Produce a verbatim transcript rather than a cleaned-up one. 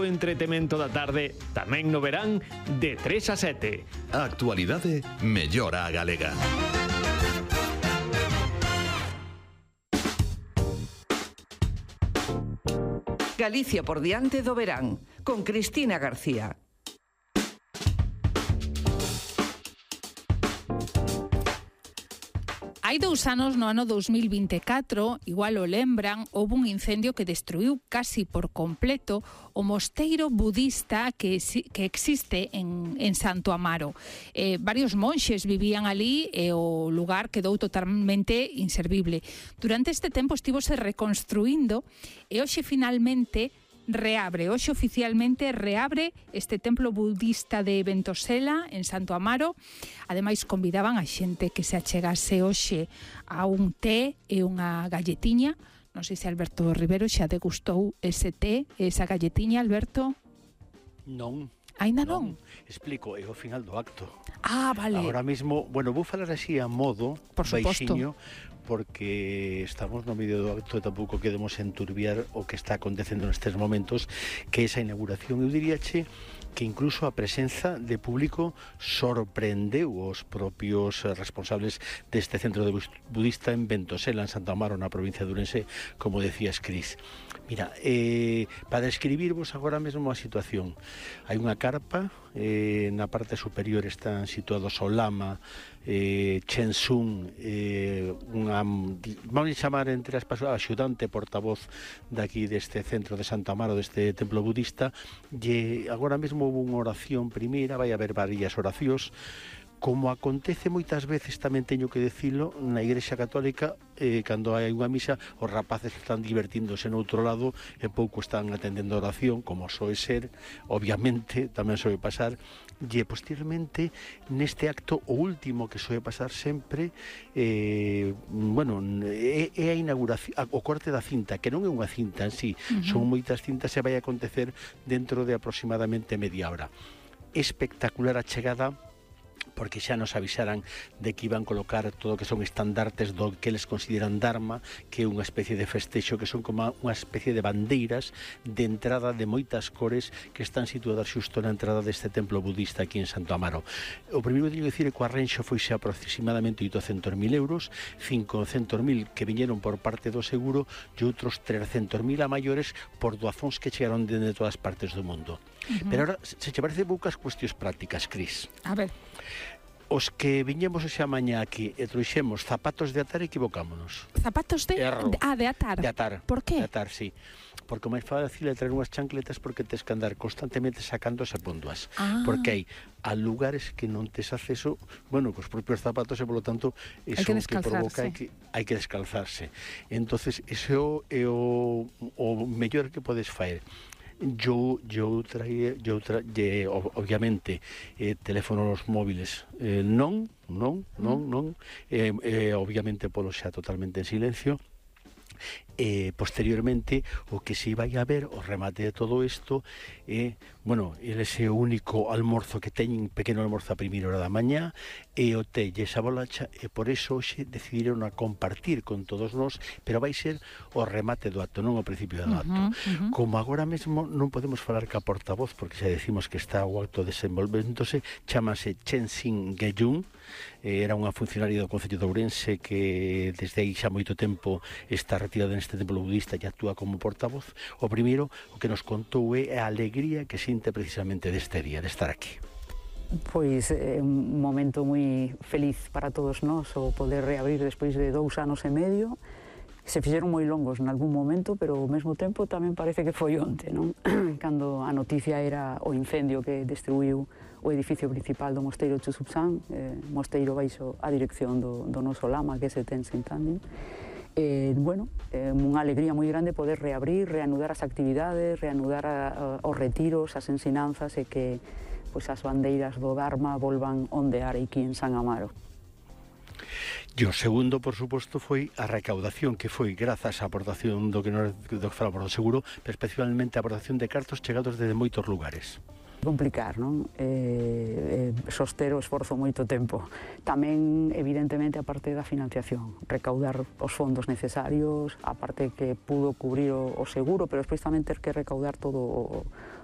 o entretemento da tarde, tamén no verán, de tres a sete. A actualidade mellora a galega. Galicia por diante do verán, con Cristina García. Hai dous anos, no ano dous mil vinte e catro, igual o lembran, houve un incendio que destruiu casi por completo o mosteiro budista que, que existe en, en Santo Amaro. Eh, varios monxes vivían ali e o lugar quedou totalmente inservible. Durante este tempo estivose reconstruindo e hoxe finalmente reabre, hoxe oficialmente reabre este templo budista de Ventosela en Santo Amaro. Ademais convidaban a xente que se achegase hoxe a un té e unha galletiña. Non sei se Alberto Rivero xa degustou ese té e esa galletiña, Alberto. Non. Ainda non? non? Explico, é o final do acto. Ah, vale. Ahora mismo, bueno, vou falar así a modo, por baixiño, porque estamos no medio do acto e tampouco queremos enturbiar o que está acontecendo nestes momentos, que esa inauguración, eu diríache que incluso a presenza de público sorprendeu os propios responsables deste centro de budista en Ventosela, en Santa Amaro, na provincia de Ourense, como decías, Cris. Mira, eh, para describirvos agora mesmo a situación, hai unha carpa, eh, na parte superior están situados o lama, eh, Chensun, eh, unha, vamos a chamar entre as persoas, axudante portavoz daqui deste centro de Santa Amaro, deste templo budista, e agora mesmo houve unha oración primeira, vai haber varias oracións. Como acontece moitas veces, tamén teño que dicilo, na Igrexa Católica, eh, cando hai unha misa, os rapaces están divertíndose no outro lado e pouco están atendendo a oración, como soe ser, obviamente, tamén soe pasar, e posteriormente, neste acto, o último que soe pasar sempre, eh, bueno, é, é a inauguración, o corte da cinta, que non é unha cinta en sí, uh-huh. Son moitas cintas e vai acontecer dentro de aproximadamente media hora. Espectacular a chegada, porque xa nos avisaran de que iban colocar todo o que son estandartes do que eles consideran Dharma, que é unha especie de festexo, que son como unha especie de bandeiras de entrada de moitas cores que están situadas xusto na entrada deste templo budista aquí en Santo Amaro. O primeiro que teño que dicir é que o arrenxo foise aproximadamente oitocentos mil euros, cincocentos mil que viñeron por parte do seguro e outros trescentos mil a maiores por doazóns que chegaron de todas partes do mundo. Uh-huh. Pero ahora, se che parece poucas cuestións prácticas, Cris. A ver. Os que viñemos esa mañá aquí e trouxemos zapatos de atar, equivocámonos. Zapatos de... Erro. Ah, de atar. De atar. Por qué? De atar, sí. Porque o máis fácil é traer unhas chancletas porque tes que andar constantemente sacándose ponduas. Ah. Porque hai a lugares que non tes acceso, bueno, cos propios zapatos e, polo tanto, eso que, que provoca é que hai que descalzarse. Entonces, eso é o, o mellor que podes faer. Yo, yo traía, yo tra, ye, obviamente, eh, teléfonos móviles eh, non, non, non, non, eh, eh, obviamente polo xa totalmente en silencio. Eh, posteriormente o que se vai a ver o remate de todo isto é, eh, bueno, ese único almorzo que teñen, pequeno almorzo a primeira hora da mañá e o té e esa bolacha, e por eso hoxe decidiron a compartir con todos nós, pero vai ser o remate do acto, non o principio do acto. Uh-huh, uh-huh. Como agora mesmo non podemos falar ca portavoz porque xa decimos que está o acto desenvolvéndose, chamase Chen Xin Geyun, eh, era unha funcionaria do Concello de Ourense que desde aí xa moito tempo está retirada neste templo budista e actúa como portavoz. O primeiro, o que nos contou é a alegría que sinte precisamente deste día, de estar aquí. Pois é un momento moi feliz para todos nós o poder reabrir despois de dous anos e medio. Se fixeron moi longos nalgún momento, pero ao mesmo tempo tamén parece que foi onte, non? Cando a noticia era o incendio que destruiu o edificio principal do mosteiro Chusupsan, eh, mosteiro baixo a dirección do, do noso lama, que é ese Tenzin Tandin. Eh, bueno, eh, unha alegría moi grande poder reabrir, reanudar as actividades, reanudar a, a, os retiros, as ensinanzas e que pois, as bandeiras do Dharma volvan ondear aquí en San Amaro. E o segundo, por suposto, foi a recaudación, que foi grazas á aportación do que nos do que falamos do seguro, pero especialmente a aportación de cartos chegados desde moitos lugares. Complicar, non? Eh, eh, soster o esforzo moito tempo. Tamén, evidentemente, a parte da financiación, recaudar os fondos necesarios, a parte que pudo cubrir o, o seguro, pero despois tamén ter que recaudar todo o,